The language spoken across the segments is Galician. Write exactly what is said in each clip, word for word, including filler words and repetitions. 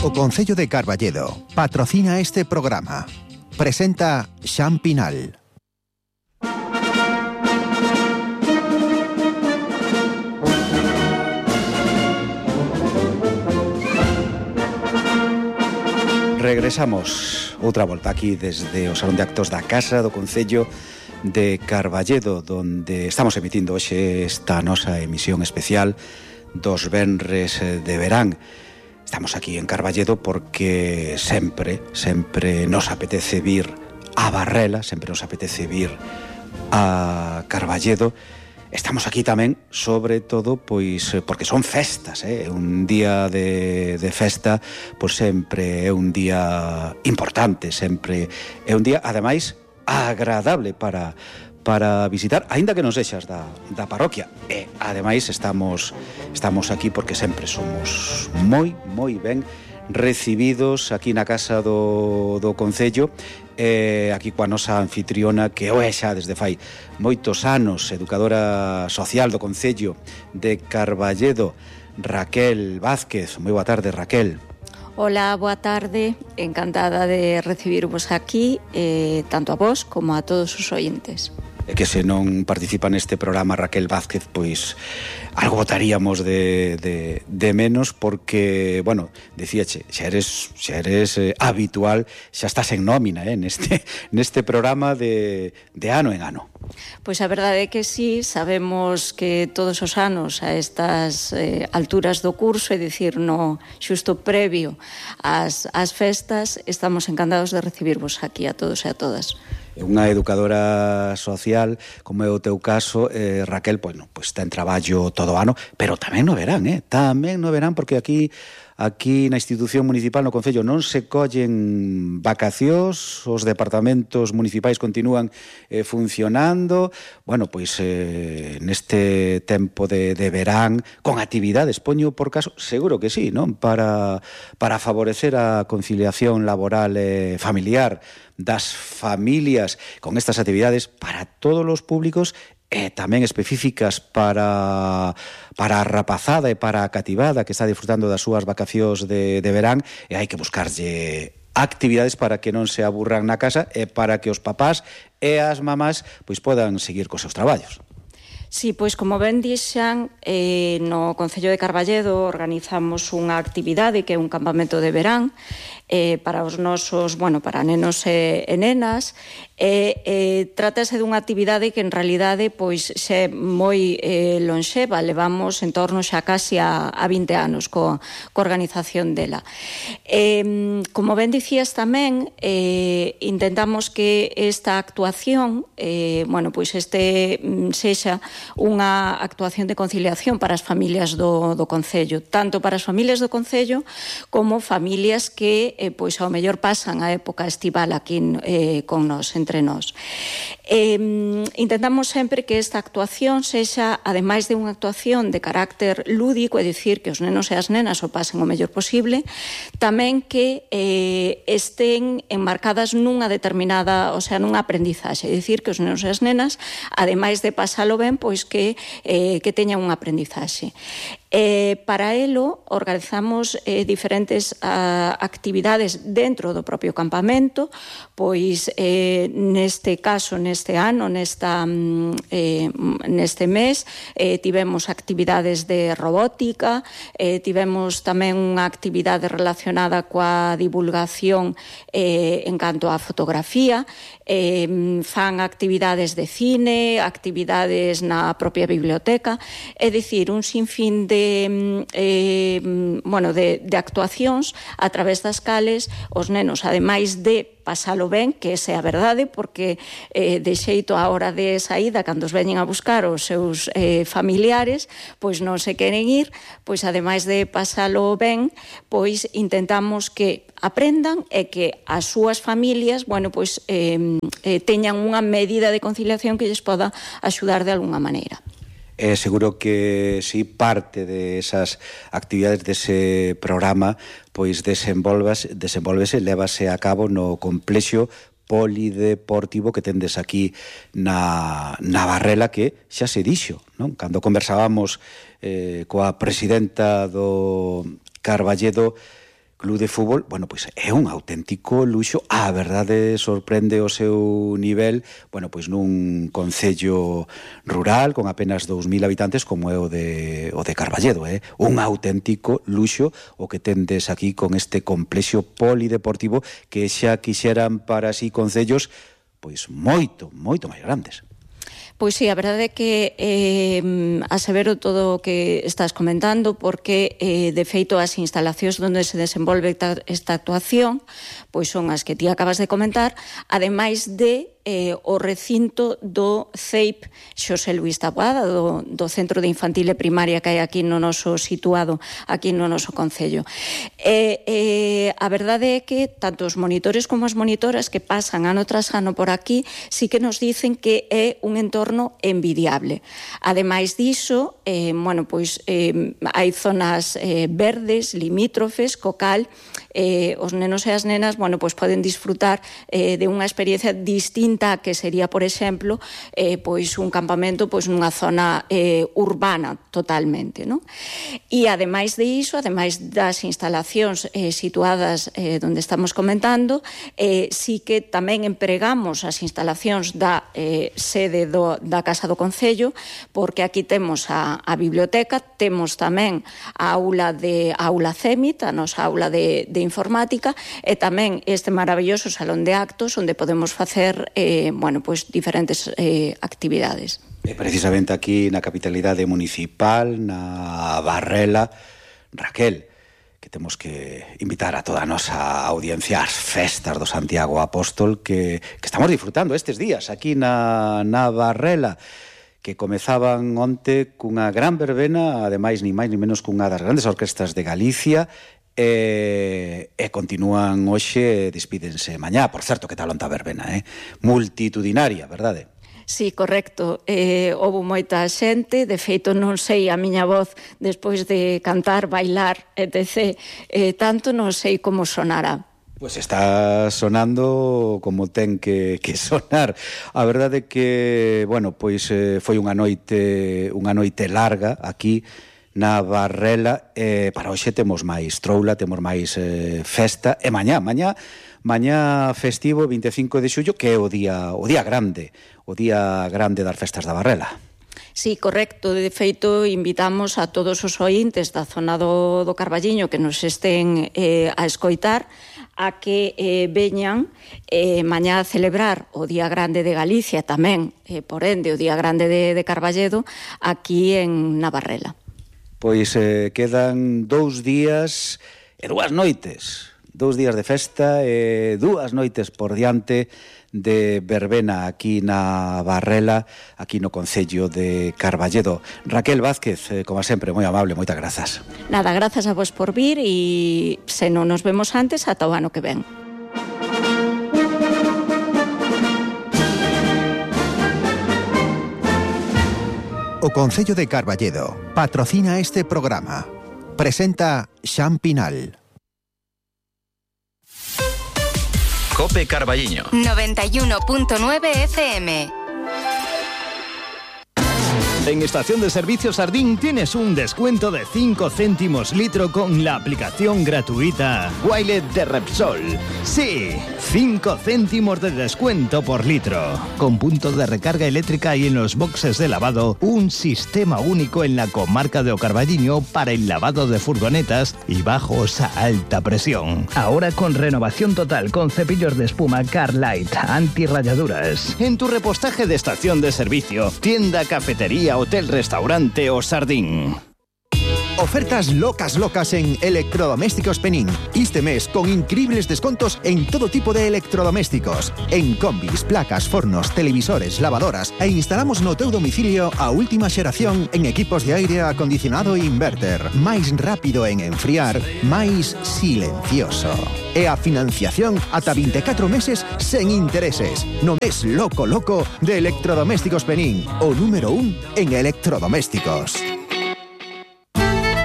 O Concello de Carballedo patrocina este programa. Presenta Xan Pinal. Regresamos outra volta aquí desde o Salón de Actos da Casa do Concello de Carballedo, donde estamos emitindo hoxe esta nosa emisión especial dos venres de verán. Estamos aquí en Carballedo porque sempre, sempre nos apetece vir a Barrela, sempre nos apetece vir a Carballedo. Estamos aquí tamén, sobre todo, pois porque son festas, eh? Un día de, de festa, pois sempre é un día importante, sempre é un día, ademais, agradable para, para visitar, aínda que non sexas da, da parroquia. E, ademais, estamos, estamos aquí porque sempre somos moi, moi ben recibidos aquí na casa do, do Concello, eh, aquí coa nosa anfitriona, que o é xa desde fai moitos anos, educadora social do Concello de Carballedo, Raquel Vázquez. Moi boa tarde, Raquel. Hola, boa tarde, encantada de recibirvos aquí, eh, tanto a vos como a todos os ointes. E que se non participa neste programa Raquel Vázquez, pois algo botaríamos de, de, de menos, porque, bueno, dicíache, xa eres, xa eres eh, habitual, xa estás en nómina eh, neste, neste programa de, de ano en ano. Pois a verdade é que sí, sabemos que todos os anos a estas eh, alturas do curso, é dicir, no xusto previo ás, ás festas, estamos encantados de recibirvos aquí a todos e a todas. Unha educadora social, como é o teu caso, eh, Raquel, pois, no, pois ten traballo todo o ano, pero tamén no verán, eh? Tamén no verán, porque aquí aquí na institución municipal, no Concello, non se collen vacacións, os departamentos municipais continúan eh, funcionando. Bueno, pois eh, neste tempo de, de verán, con actividades, poño por caso, seguro que sí, non? Para, para favorecer a conciliación laboral e familiar das familias, con estas actividades para todos os públicos e tamén específicas para, para a rapazada e para a cativada que está disfrutando das súas vacacións de, de verán, e hai que buscarlle actividades para que non se aburran na casa e para que os papás e as mamás pois podan seguir cos seus traballos. Sí, pois como ben dixan, eh, no Concello de Carballedo organizamos unha actividade que é un campamento de verán eh, para os nosos, bueno, para nenos e, e nenas, e eh, trátase dunha actividade que en realidade pois xe moi eh, lonxeva, levamos en torno xa casi a, a vinte anos co, co organización dela. Eh, como ben dicías tamén, eh, intentamos que esta actuación, eh, bueno, pois este sexa unha actuación de conciliación para as familias do, do Concello, tanto para as familias do Concello como familias que eh, pois ao mellor pasan a época estival aquí eh, con nós, entre nós. Eh, intentamos sempre que esta actuación sexa, ademais de unha actuación de carácter lúdico, é dicir, que os nenos e as nenas o pasen o mellor posible, tamén que eh, estén enmarcadas nunha determinada, o sea, nunha aprendizaxe, é dicir, que os nenos e as nenas, ademais de pasalo ben, pois que, eh, que teñan unha aprendizaxe. Eh, para elo organizamos eh, diferentes uh, actividades dentro do propio campamento, pois eh, neste caso, neste ano, nesta, eh, neste mes, eh, tivemos actividades de robótica, eh, tivemos tamén unha actividade relacionada coa divulgación eh, en canto á fotografía, eh, fan actividades de cine, actividades na propia biblioteca, é dicir, un sinfín de Eh, bueno, de, de actuacións a través das cales os nenos, ademais de pasalo ben, que esa é a verdade, porque eh, de xeito a hora de saída, cando os veñen a buscar os seus eh, familiares, pois non se queren ir, pois ademais de pasalo ben, pois intentamos que aprendan e que as súas familias, bueno, pois eh, eh, teñan unha medida de conciliación que lles poda axudar de alguna maneira. Eh, seguro que si parte de esas actividades dese programa pois desenvolvase, desenvolvese, lévase a cabo no complexo polideportivo que tendes aquí na, na Barrela, que xa se dixo, non? Cando conversábamos eh, coa presidenta do Carballedo, club de fútbol, bueno, pois é un auténtico luxo. A verdade sorprende o seu nivel, bueno, pois nun concello rural con apenas dous mil habitantes como é o de, o de Carballedo, eh? Un auténtico luxo o que tendes aquí con este complexo polideportivo que xa quixeran para si concellos pois moito, moito máis grandes. Pois sí, a verdade é que eh, asevero todo o que estás comentando porque, eh, de feito, as instalacións onde se desenvolve esta, esta actuación pois son as que ti acabas de comentar, ademais de eh, o recinto do C E I P Xosé Luís Taboada, do, do Centro de Infantil e Primaria que hai aquí no noso situado, aquí no noso concello. E, eh, a verdade é que tanto os monitores como as monitoras que pasan ano tras ano por aquí sí que nos dicen que é un entorno envidiable. Ademais diso, eh, bueno, pois eh, hai zonas eh, verdes, limítrofes, co cal eh, os nenos e as nenas, bueno, pois poden disfrutar eh, de unha experiencia distinta que sería, por exemplo, eh, pois un campamento pois nunha zona eh, urbana totalmente, non? E ademais de iso, ademais das instalacións eh, situadas eh, onde estamos comentando, eh, sí que tamén empregamos as instalacións da eh, sede do, da Casa do Concello, porque aquí temos a, a biblioteca, temos tamén a aula de a aula CEMIT, a nosa aula de, de informática, e tamén este maravilloso salón de actos onde podemos facer Eh, bueno, pois diferentes eh, actividades. E precisamente aquí na capitalidade municipal, na Barrela, Raquel, que temos que invitar a toda a nosa audiencia ás festas do Santiago Apóstol que, que estamos disfrutando estes días aquí na, na Barrela, que comezaban onte cunha gran verbena, ademais ni máis ni menos cunha das grandes orquestas de Galicia, E, e continúan hoxe, despídense mañá. Por certo, que tal onta verbena, eh? Multitudinaria, verdade? Sí, correcto. Eh, houve moita xente, de feito non sei a miña voz despois de cantar, bailar, etcétera. Eh, tanto non sei como sonará. Pois está sonando como ten que, que sonar. A verdade é que, bueno, pois eh, foi unha noite, unha noite larga aquí na Barrela, eh, para hoxe temos máis troula, temos máis eh, festa, e mañá, mañá, mañá festivo vinte e cinco de xullo, que é o día, o día grande, o día grande das festas da Barrela. Sí, correcto. De feito, invitamos a todos os ointes da zona do, do Carballiño que nos estén eh, a escoitar a que eh, veñan eh, mañá a celebrar o Día Grande de Galicia, tamén, eh, por ende, o Día Grande de, de Carballedo, aquí en Navarrela. Pois eh, quedan dous días e dúas noites, dous días de festa e dúas noites por diante de verbena aquí na Barrela, aquí no concello de Carballedo. Raquel Vázquez, eh, como sempre, moi amable, moitas grazas. Nada, grazas a vos por vir e se non nos vemos antes, ata o ano que ven. O Concello de Carballedo patrocina este programa. Presenta Xan Pinal. Cope Carballiño noventa y uno punto nueve F M. En Estación de Servicio Sardín tienes un descuento de cinco céntimos litro con la aplicación gratuita Wilet de Repsol. Sí, cinco céntimos de descuento por litro. Con punto de recarga eléctrica y en los boxes de lavado, un sistema único en la comarca de O Carballiño para el lavado de furgonetas y bajos a alta presión. Ahora con renovación total con cepillos de espuma Carlight, antirrayaduras. En tu repostaje de estación de servicio, tienda, cafetería, hotel, restaurante o Sardín. Ofertas locas locas en Electrodomésticos Penín. Este mes con increíbles descontos en todo tipo de electrodomésticos. En combis, placas, fornos, televisores, lavadoras e instalamos no teu domicilio a última xeración en equipos de aire acondicionado e inverter. Máis rápido en enfriar, máis silencioso. E a financiación ata vinte e catro meses sen intereses. No mes loco loco de Electrodomésticos Penín, o número un en electrodomésticos.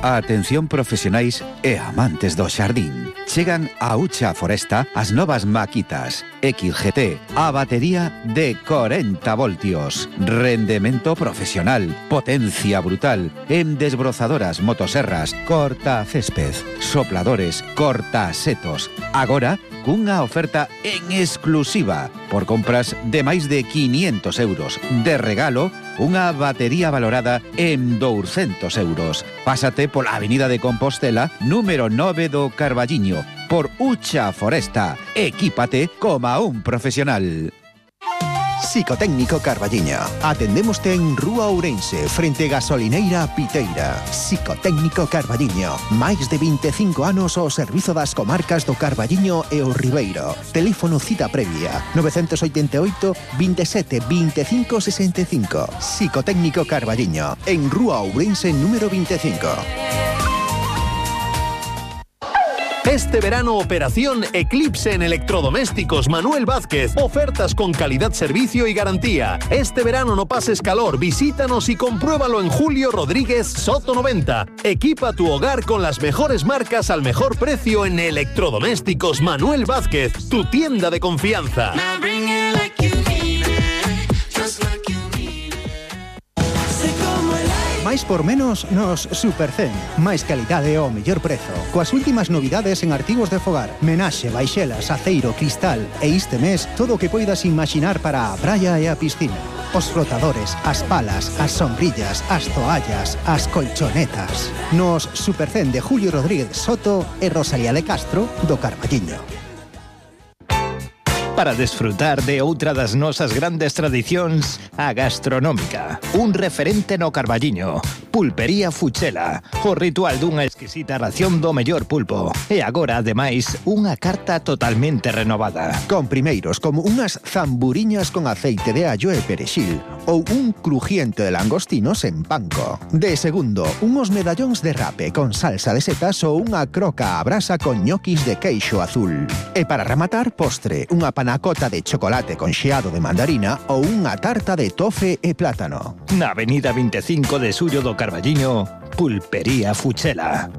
Atención profesionais e amantes do xardín. Chegan a Ucha Foresta as novas maquitas X G T, a batería de corenta voltios, rendemento profesional, potencia brutal, en desbrozadoras, motoserras, corta césped, sopladores, corta setos. Agora, cunha oferta en exclusiva por compras de máis de quinientos euros. De regalo, unha batería valorada en douscentos euros. Pásate pola Avenida de Compostela, número nove do Carballiño, por Ucha Foresta. Equípate como un profesional. Psicotécnico Carballiño. Atendémoste en Rúa Ourense, frente Gasolineira Piteira. Psicotécnico Carballiño. Máis de veinticinco anos ao servizo das comarcas do Carballiño e o Ribeiro. Teléfono cita previa nove oito oito, veintisiete, veinticinco, sesenta y cinco. Psicotécnico Carballiño. En Rúa Ourense número veinticinco. Este verano, operación Eclipse en electrodomésticos Manuel Vázquez. Ofertas con calidad, servicio y garantía. Este verano no pases calor, visítanos y compruébalo en Julio Rodríguez Soto noventa. Equipa tu hogar con las mejores marcas al mejor precio en electrodomésticos Manuel Vázquez, tu tienda de confianza. Máis por menos nos Supercen. Máis calidade ao mellor prezo. Coas últimas novidades en artigos de fogar. Menaxe, baixelas, aceiro, cristal. E este mes, todo o que poidas imaginar para a praia e a piscina. Os flotadores, as palas, as sombrillas, as toallas, as colchonetas. Nos Supercen de Julio Rodríguez Soto e Rosalía de Castro do Carballiño. Para desfrutar de outra das nosas grandes tradicións, a gastronómica. Un referente no Carballiño. Pulpería Fuchela. O ritual dunha exquisita ración do mellor pulpo. E agora, ademais, unha carta totalmente renovada. Con primeiros como unhas zamburiñas con aceite de allo e perexil ou un crujiente de langostinos en panko. De segundo, unos medallóns de rape con salsa de setas ou unha croca a brasa con ñoquis de queixo azul. E para rematar, postre, unha panacota de chocolate con xeado de mandarina ou unha tarta de tofe e plátano. Na avenida veinticinco de Xullo do Carballiño, Pulpería Fuchela.